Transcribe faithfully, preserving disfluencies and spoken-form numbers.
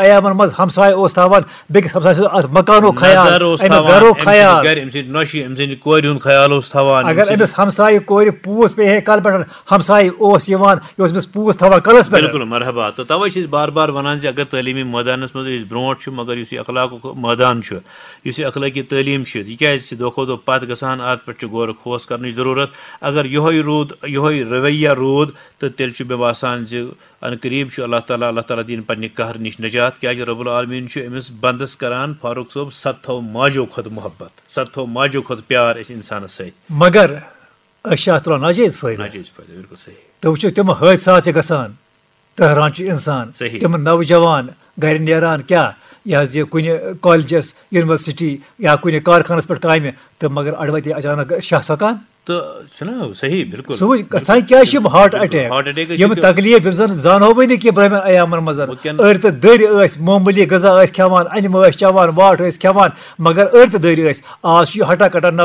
ایامن منٛز ہمسایہِ اوس تھاوان، بیٚکِس ہمسایہِ سُنٛد اتھ مکانُک خیال، نظر اوس اَمہِ تھاوان، گرُک أمۍ سٕنٛدِ خیال۔ گرِ، أمۍ سٕنٛدِ نۄشہِ، أمۍ سٕنٛدِ کورِ ہُنٛد خیال اوس تھاوان، أمۍ اگر سٕنٛدِ أمِس ہمسایہِ کورِ پوٗژ پیٚیہِ ہے کلہٕ پٮ۪ٹھ، ہمسایہِ اوس یِوان، یہِ اوس أمِس پوٗژ تھاوان کلس پٮ۪ٹھ۔ بِلکُل، مرحبا۔ تہٕ توے چھِ أسۍ بار بار ونان زِ اگر تعلیمی مٲدانس منٛز أسۍ برونٛٹھ چھِ، مگر یُس یہِ اخلاقُک مٲدان چھُ، یُس یہِ اخلٲقی تعلیٖم چھِ، یہِ کیٛازِ چھِ دۄہ کھۄتہٕ دۄہ پتھ گژھان، اتھ پٮ۪ٹھ چھِ غور و خوض کرنٕچ ضروٗرت۔ اگر یِہوٚے روٗد، یِہوٚے رویہ روٗد، تہٕ تیٚلہِ چھُ مےٚ باسان زِ ان قریب چھُ اللہ تعالیٰ، اللہ تعالیٰ دِیِن پننہِ قہرٕ نِش نجات، کیٛازِ رب العالمین چھُ أمِس بندس کران، فاروق صٲب، ستتھو ماجو کھۄتہٕ محبت، ستتھو ماجو کھۄتہٕ پیار أسۍ انسانس سۭتۍ۔ مگر أسۍ چھِ اتھ تُلان ناجٲیز فٲیدٕ۔ ناجٲیز فٲیدٕ، بِلکُل صحیح۔ تُہۍ وٕچھِو، تِم حٲدثات چھِ گژھان، تہران چھُ انسان، صحیح۔ تِم نوجوان گرِ نیران کیٛاہ، یہِ حظ یہِ کُنہِ کالجس، یونیورسٹی یا کُنہِ کارخانس پٮ۪ٹھ کامہِ، تہٕ مگر اڑٕ وَتے اچانک شاہ سۄکان۔ تہٕ چھُنہ صحیح، بِلکُل۔ سُہ وٕچھ، گژھان کیٛاہ چھِ یِم ہارٹ بِلکُل، اٹیک؟ ہارٹ اٹیک ٲسۍ یِم یِم۔ تکلیٖف یِم زَن زانہو وٕے نہٕ کینٛہہ برٛونٛہمٮ۪ن ایامَن منٛز۔ وٕنکٮ۪ن أڑۍ تہٕ دٔرۍ ٲسۍ، معموٗلی غذا ٲسۍ کھٮ۪وان، اَنِمہٕ ٲسۍ چٮ۪وان، واٹھ ٲسۍ کھٮ۪وان، مگر أڑۍ تہٕ دٔرۍ ٲسۍ۔ آز چھُ یہِ ہٹا کٹا نوجوان